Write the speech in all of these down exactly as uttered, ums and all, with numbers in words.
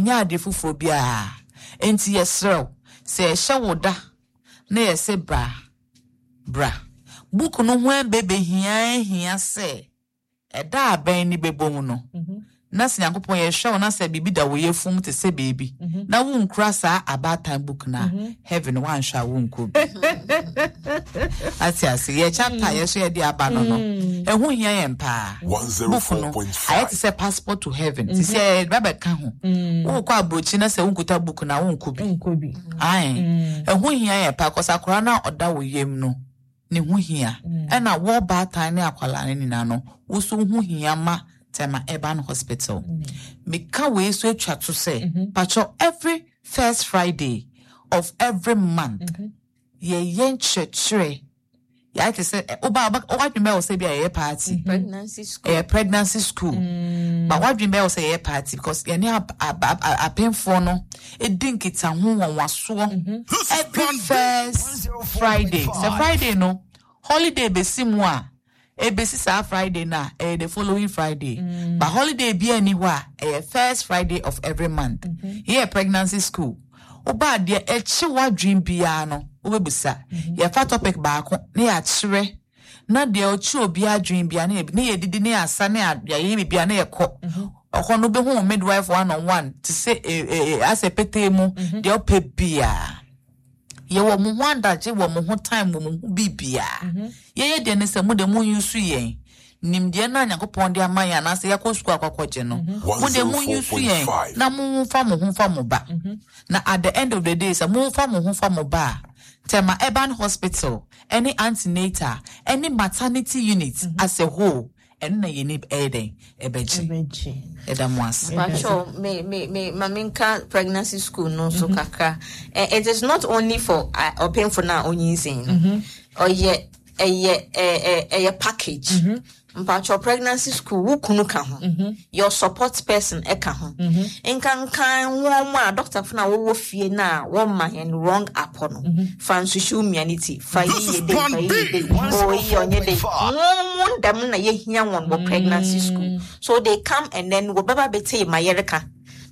Ɛnyɛ ade foforɔ biara. Nti yɛserɛw sɛ yɛhyɛ wo da na yɛsɛ bra bra. Book no ho bɛbɛhia hia sɛ ɛda abɛn ne bɛbɔ mu no, na sɛ Nyankopɔn yɛhwɛ wo na sɛ biribi da wo yɛfum te sɛ baabi na wonkura saa abaatan book no a, heaven woanhwɛ a wonkɔ bi. Ate ase? Yɛ chapter yɛ so yɛde aba no no ɛho hia yɛn paa. Book no ayɛ te sɛ passport to heaven. Te sɛ yɛde ho wokɔ aburokyi na sɛ wonkuta book no a, wonkɔ bi. Nkɔ bi. Ae, ɛho hia yɛn paa kɔsɛ akwaraa no a ɔda wo yam no ne ho hia, ɛna wɔ baatan ne akwalaa no nyinaa no wo so ho hia ma Tema Urban Hospital. Meka wei so atwa to sɛ patwɔ, every first Friday of every month yɛyɛ nkyerɛkyerɛ. Yɛayɛ te sɛ ɛ, woba woba- woadwene bɛyɛ wɔ sɛ bi a yɛyɛ party. Pregnancy school. Ɛyɛ pregnancy school, but wadwene bɛyɛ wɔ sɛ yɛyɛ party because yɛne ab- ab- ab- apemfoɔ no ɛdi nkitaho wɔn wasoɔ every first Friday. Sɛ Friday no holiday bɛsi mu a, ebesi saa Friday na ɛyɛ the following Friday, but holiday bi ani hɔ a, ɛyɛ first Friday of every month. Yɛyɛ pregnancy school. Woba adeɛ ɛkye wadwene biara no wobɛbusa. Yɛfa topic baako na yɛakyerɛ na deɛ ɔkye obi adwene biara na yɛ- na yɛdidi na yɛasa na yɛ- yɛayɛ biribiara na yɛkɔ ɔhɔ no. Wobɛhu wo midwife one on one te sɛ eh, eh, eh, asɛ petee mu deɛ ɔpɛ biara. Yɛwɔ mo ho adagye, wɔ mo ho time, wɔ mo ho biribiara. Yɛyɛ deɛ ne sɛ mo de mo use yɛn nimdeɛ no a Nyankopɔn de ama yɛn anaasɛ yɛkɔ sukuu akɔkɔgye no. Mo de mo use yɛn na momfa mo ho fa mo ba, na at the end of the day sɛ momfa mo ho fa mo ba a, Tema Urban Hospital ɛne antenatal ɛne maternity unit as a whole, ɛno na yɛni ɛyɛ dɛn ɛbɛgye. Ɛbɛgye. Ɛda mo ase. Pacho, me me me ma menka pregnancy school no so kakra. Eh, it is not only for uh, ɔpemfo na onyinsɛn no. Ɔyɛ ɛyɛ ɛyɛ ɛyɛ package. Mpacho, pregnancy school, wo kunu ka ho. Your support person ɛka ho. Nkankan wɔn mu a doctor fo na wɔwɔ fie na wɔn ma yɛn wrong apɔ no. Fa nsuhyew mia ne ti. Fa yi yɛ de, fa yi yɛ de. O yi ɔnyɛ de. Wɔn mu dɛm na yɛhia wɔn wɔ pregnancy school. So they come and then wɔbɛba bɛte ma yɛreka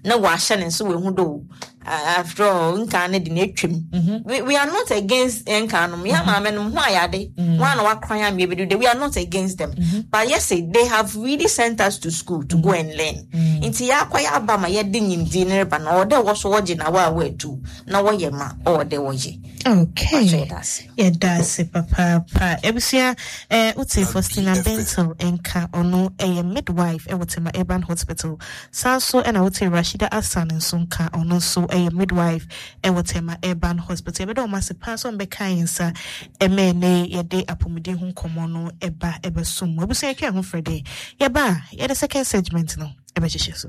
na wɔahyɛ ne nso wɔehu do. After all, nkan ne de na etwam. we we are not against nkan no. Yɛn maame no ho ayade wɔn a na wakran amia bi do. We are not against them, but yes, they have really sent us to school to go and learn. Nti yɛakɔ yɛ aba ma yɛde nyimdie ne reba na ɔwɔ dɛ wɔ so wɔgye na wɔ a wɔatu na wɔyɛ ma ɔwɔ dɛ wɔyɛ. Okay. Pacho, yɛda ase. Yɛda ase papaapa. Ebusua, eh, wote Faustina Bento nka, ɔno ɛyɛ midwife ɛwɔ Tema Urban Hospital. Saa nso ɛna wote Rashida Asan nso nka, ɔno nso ɛyɛ midwife ɛwɔ Tema Urban Hospital. Yɛbɛda ɔmo ase paa sɛ ɔmbɛka yɛn nsa ɛmɛ ne yɛde apɔmuden ho nkɔmmɔ no ɛba ɛbɛsom mu. Abusua, yɛtwa ɛho frɛ dɛ yɛba a, yɛde second segment no ɛbɛhyehyɛ so.